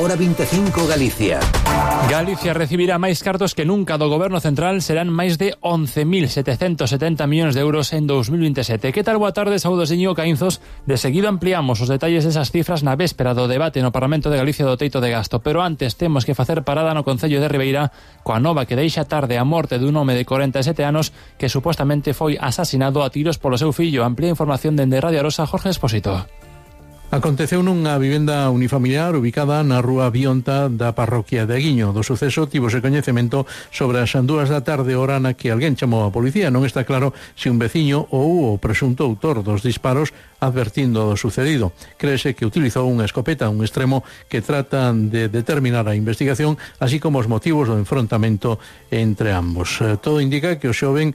Hora 25 Galicia. Galicia recibirá máis cartos que nunca do Goberno Central, serán máis de 11.770 millóns de euros en 2027. Que tal? Boa tarde, saúdos de Íñigo Caínzos. De seguido ampliamos os detalles desas cifras na véspera do debate no Parlamento de Galicia do teito de gasto, pero antes temos que facer parada no Concello de Ribeira coa nova que deixa tarde a morte dun home de 47 anos que supostamente foi asasinado a tiros polo seu fillo. Amplía información dende Radio Arosa, Jorge Expósito. Aconteceu nunha vivenda unifamiliar ubicada na rúa Bionta da parroquia de Aguiño. Do suceso tivose coñecemento sobre as 2 da tarde, hora na que alguén chamou a policía. Non está claro se un veciño ou o presunto autor dos disparos, advertindo do sucedido. Créese que utilizou unha escopeta, un extremo que tratan de determinar a investigación, así como os motivos do enfrontamento entre ambos. Todo indica que o xoven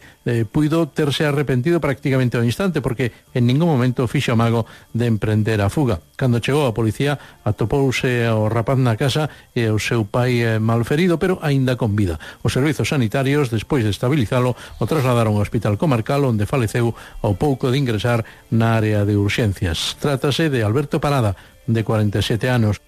puido terse arrepentido prácticamente ao instante, porque en ningún momento fixo amago de emprender a fuga. Cando chegou a policía, atopouse o rapaz na casa e o seu pai malferido, pero aínda con vida. Os servizos sanitarios, despois de estabilizalo, o trasladaron ao hospital comarcal, onde faleceu ao pouco de ingresar na área de urxencias. Trátase de Alberto Parada, de 47 anos.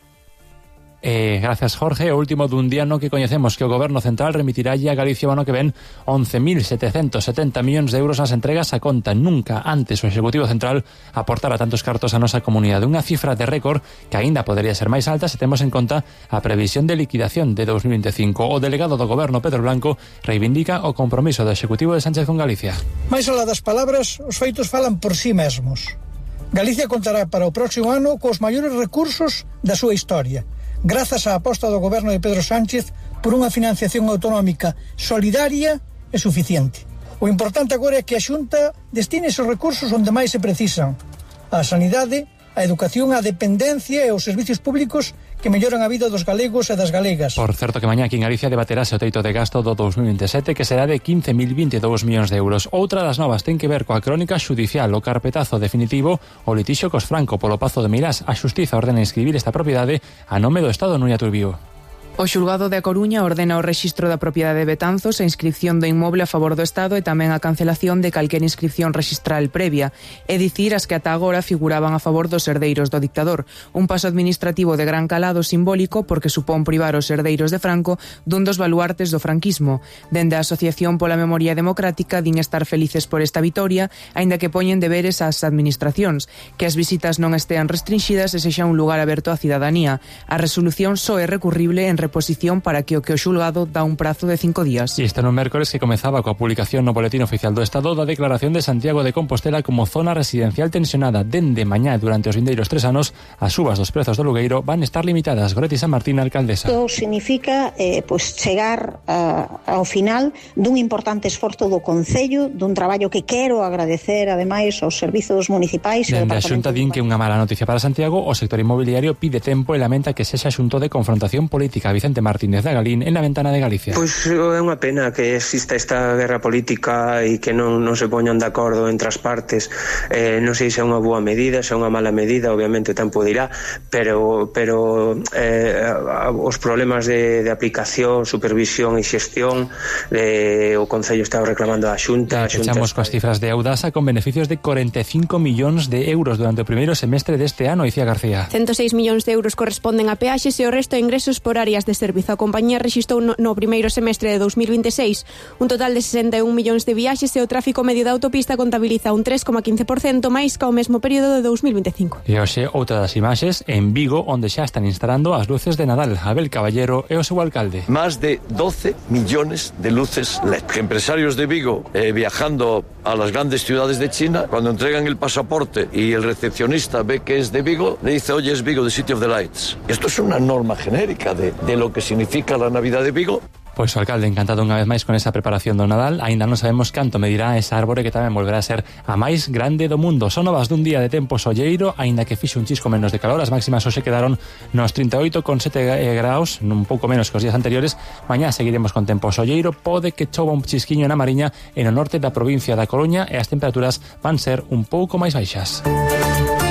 Gracias, Jorge. O último dun día no que coñecemos que o Goberno Central remitirá a Galicia o ano que ven 11.770 millóns de euros nas entregas a conta. Nunca antes o Executivo Central aportara tantos cartos a nosa comunidade. Unha cifra de récord que aínda podería ser máis alta se temos en conta a previsión de liquidación de 2025. O delegado do Goberno, Pedro Blanco, reivindica o compromiso do Executivo de Sánchez con Galicia. Mais alá das palabras, os feitos falan por si mesmos. Galicia contará para o próximo ano cos maiores recursos da súa historia, grazas á aposta do Goberno de Pedro Sánchez por unha financiación autonómica solidaria e suficiente. O importante agora é que a Xunta destine esos recursos onde máis se precisan: a sanidade, a educación, a dependencia e os servicios públicos que melloran a vida dos galegos e das galegas. Por certo que mañá aquí en Galicia debaterase o teito de gasto do 2027, que será de 15.022 millóns de euros. Outra das novas ten que ver coa crónica xudicial, o carpetazo definitivo o litixio cos Franco polo Pazo de Meirás. A Xustiza ordena inscribir esta propiedade a nome do Estado. Núñez Turbío. O xulgado de A Coruña ordena o rexistro da propiedade de Betanzos, a inscripción do inmoble a favor do Estado e tamén a cancelación de calquera inscripción rexistral previa, é dicir, as que ata agora figuraban a favor dos herdeiros do dictador. Un paso administrativo de gran calado simbólico porque supón privar os herdeiros de Franco dun dos baluartes do franquismo. Dende a Asociación pola Memoria Democrática din estar felices por esta vitoria, aínda que poñen deberes ás administracións, que as visitas non estean restringidas e sexa un lugar aberto á cidadanía. A resolución só é recurrible en reposición para que o xulgado dá un prazo de 5 días. E este no mércores que comezaba coa publicación no Boletín Oficial do Estado da declaración de Santiago de Compostela como zona residencial tensionada. Dende mañá durante os vindeiros 3 anos, as subas dos prezos do lugueiro van estar limitadas. Goretti San Martín, alcaldesa. Isto significa chegar ao final dun importante esforzo do Concello, dun traballo que quero agradecer ademais aos servizos municipais. Dende a Xunta din que unha mala noticia para Santiago, o sector inmobiliario pide tempo e lamenta que sexa xunto de confrontación política. Vicente Martínez da Galín en La Ventana de Galicia. Pois é unha pena que exista esta guerra política e que non se poñan de acordo entre as partes. Non sei se é unha boa medida, se é unha mala medida, obviamente o tempo dirá, pero os problemas de aplicación, supervisión e xestión o Concello está reclamando a Xunta. Echamos coas cifras de Audasa con beneficios de 45 millóns de euros durante o primeiro semestre deste ano, Icía García. 106 millóns de euros corresponden a peaxes e o resto de ingresos por áreas de servizo. A compañía rexistrou no primeiro semestre de 2026 un total de 61 millóns de viaxes e o tráfico medio da autopista contabiliza un 3,15% máis que ao mesmo período de 2025. E hoxe outra das imaxes en Vigo, onde xa están instalando as luces de Nadal. Abel Caballero é o seu alcalde. Más de 12 millones de luces LED. Que empresarios de Vigo viajando a las grandes ciudades de China, cuando entregan el pasaporte y el recepcionista ve que es de Vigo, le dice, oye, es Vigo, the City of the Lights. Esto es una norma genérica de lo que significa la Navidad de Vigo. Pois o alcalde encantado unha vez máis con esa preparación do Nadal. Aínda non sabemos canto medirá esa árbore que tamén volverá a ser a máis grande do mundo. Son novas dun día de tempo solleiro, aínda que fixo un chisco menos de calor. As máximas hoxe quedaron nos 38,7 graus, un pouco menos que os días anteriores. Mañá seguiremos con tempo solleiro, pode que chova un chisquiño na Mariña e no norte da provincia da Coruña e as temperaturas van ser un pouco máis baixas.